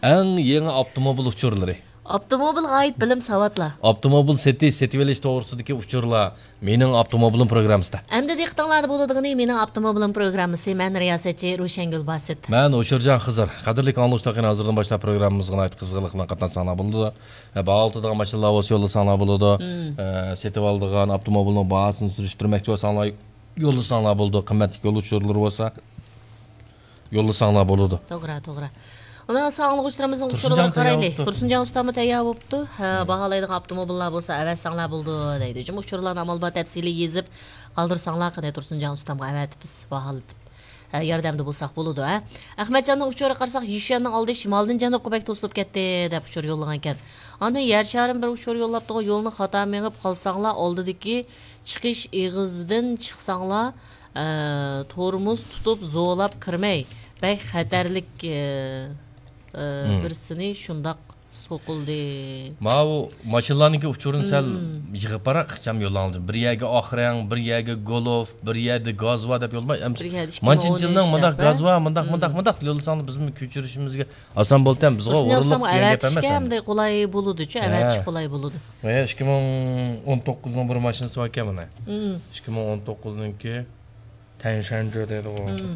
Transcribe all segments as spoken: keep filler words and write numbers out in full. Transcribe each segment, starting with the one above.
ئەڭ يېڭى ئاپتوموبىل ئۇچۇرلىرى. ئاپتوموبىلغا ئائىت بىلىم، ساۋاتلار. ئاپتوموبىل سېتىش، سېتىۋېلىش توغرىسىدىكى ئۇچۇرلار. مېنىڭ ئاپتوموبىلىم پروگراممىسىدا. ئەمدى دىققىتىڭلاردا بولىدىغىنى مېنىڭ ئاپتوموبىلىم پروگراممىسى. مەن رىياسەتچى روشەنگۈل باسىت. مەن ھوشۇرجان خىزىر. قەدىرلىك ئاڭلىغۇچىلار، قېنى ھازىردىن باشلاپ پروگراممىمىزغا ناھايىتى قىزغىنلىق بىلەن قاتناشساڭلار بولىدۇ. ھە، باھا تۇتىدىغان ماشىنىلار بولسا يوللىساڭلار بولىدۇ. مم. ھە، سېتىۋالىدىغان ئاپتوموبىلنىڭ باھاسىنى سۈرۈشتۈرمەكچى بولساڭلار يوللىساڭلار بولىدۇ. قىممەتلىك يول ئۇچۇرلىرى بولسا يوللىساڭلار بولىدۇ. توغرا، توغرا. ئۇنىڭ ئاڭلىغۇچىلىرىمىزنىڭ تۇرسۇنجان ئۇچۇرلىرىغا تەييار قارايلى. بوپتۇ. تۇرسۇنجان ئۇستاممۇ تەييار بوپتۇ. ھە، مم. باھالايدىغان ئاپتوموبىللار بولسا ئەۋەتسەڭلار بولىدۇ دەيدۇ. جۇمۇ ئۇچۇرلارنى ئامال بار تەپسىلىي يېزىپ قالدۇرساڭلار قېنى، تۇرسۇنجان ئۇستامغا ئەۋەتىپ بىز باھالىتىپ، ھە، ياردەمدە بولساق بولىدۇ، ھە. ئەخمەتجاننىڭ ئۇچۇرىغا قارىساق، يىشۈەننىڭ ئالدى شىمالدىن جەنۇبقا بەك توسۇلۇپ كەتتى دەپ ئۇچۇر يوللىغانىكەن. ئاندىن يەر شارىم بىر ئۇچۇر يوللاپتىغۇ، يولنى خاتا مېڭىپ قالساڭلار، ئالدىدىكى چىقىش ئېغىزىدىن چىقساڭلار، ئە، تورمۇز تۇتۇپ زورلاپ كىرمەي، بەك خەتەرلىك، ئە، ئە، مم. بىرسىنى شۇنداق سوقۇلدى. ماۋۇ ماشىنىلارنىڭكى ئۇچۇرىنى سەل مم. يىغىپ باراق، ئىخچام يوللاڭلار. بىر يەرگە ئاخرەڭ، بىر يەرگە گولوف، بىر يەردە گازۋا دەپ يوللىماي، ئەمسە بىر يەردە ئىككى مىڭ ئون ئۈچ مانچىنچىلنىڭ مۇنداق دەپ، ھە؟ گازۋا، مۇنداق، مم. مۇنداق، مۇنداق يوللىساڭلار بىزمۇ كۆچۈرۈشىمىزگە ئاسان بولىدۇ، بىزغا تۇرسۇن ئورۇنلۇق ياسلامغا دېگەن گەپ ئەۋەتىشكە ئەمەس ئەمدى. ئەمدى قولاي بولىدۇچۇ، ھە. ئەۋەتىش قولاي بولىدۇ. ھە، ئىككى مىڭ ئون توققۇزنىڭ بىر ماشىنىسى باركەن مانا. مم. ئىككى مىڭ ئون توققۇزنىڭكى تەنشەنجې دەيدىغۇ. مم.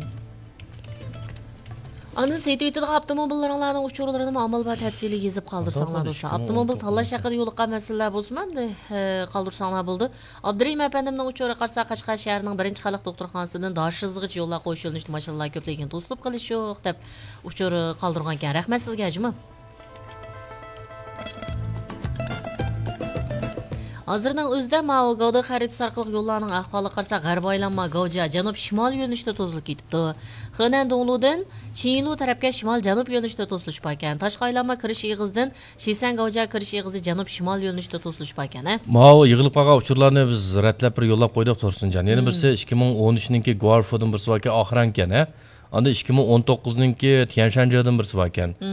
ئاندىن سېتىۋېتىدىغان ئاپتوموبىللىرىڭلارنىڭ ئۇچۇرلىرىنىمۇ ئامال بار تەپسىلىي يېزىپ قالدۇرساڭلار توغرا، دوستلار. ئىككى مىڭ ئون توققۇز. ئاپتوموبىل تاللاش ھەققىدە يولۇققان مەسىلىلەر بولسىمۇ ئەمدى، ھە، قالدۇرساڭلار بولىدۇ. ئابدۇرېھىم ئەپەندىمنىڭ ئۇچۇرىغا قارىسا، قەشقەر شەھىرىنىڭ بىرىنچى خەلق دوختۇرخانىسىدىن داشىزغىچە يوللار قويۇش يۆنىلىشىدە ماشىنىلار كۆپلۈكىگە توسۇلۇپ قېلىشى يوق دەپ ئۇچۇر قالدۇرغانىكەن. رەھمەت سىزگە، جۇمۇ. ھازىرنىڭ ئۆزىدە ماۋۇ گاۋدا خەرىتىسى ئارقىلىق يوللارنىڭ ئەھۋالىغا قارىساق، غەربىي ئايلانما گاۋجيا جەنۇب شىمال يۆنىلىشىدە توسۇلۇپ كېتىپتۇ. خېنەن دوڭلۇدىن چىڭلۇ تەرەپكە شىمال جەنۇب يۆنىلىشىدە توسۇلۇش باركەن. تاشقى ئايلانما كىرىش ئېغىزىدىن شىسەن گاۋجيا كىرىش ئېغىزى جەنۇب شىمال يۆنىلىشىدە توسۇلۇش باركەن، ھە؟ ماۋۇ يىغىلىپ قالغان ئۇچۇرلارنى بىز رەتلەپ بىر يوللاپ قويدۇق، تۇرسۇنجان. يەنە مم. بىرسى ئىككى مىڭ ئون ئۈچنىڭكى گۇارفودىن بىرسى باركەن، ئاخرانكەن، ھە؟ ئاندىن ئىككى مىڭ ئون توققۇزنىڭكى تيەنشەنجېدىن بىرسى باركەن. مم.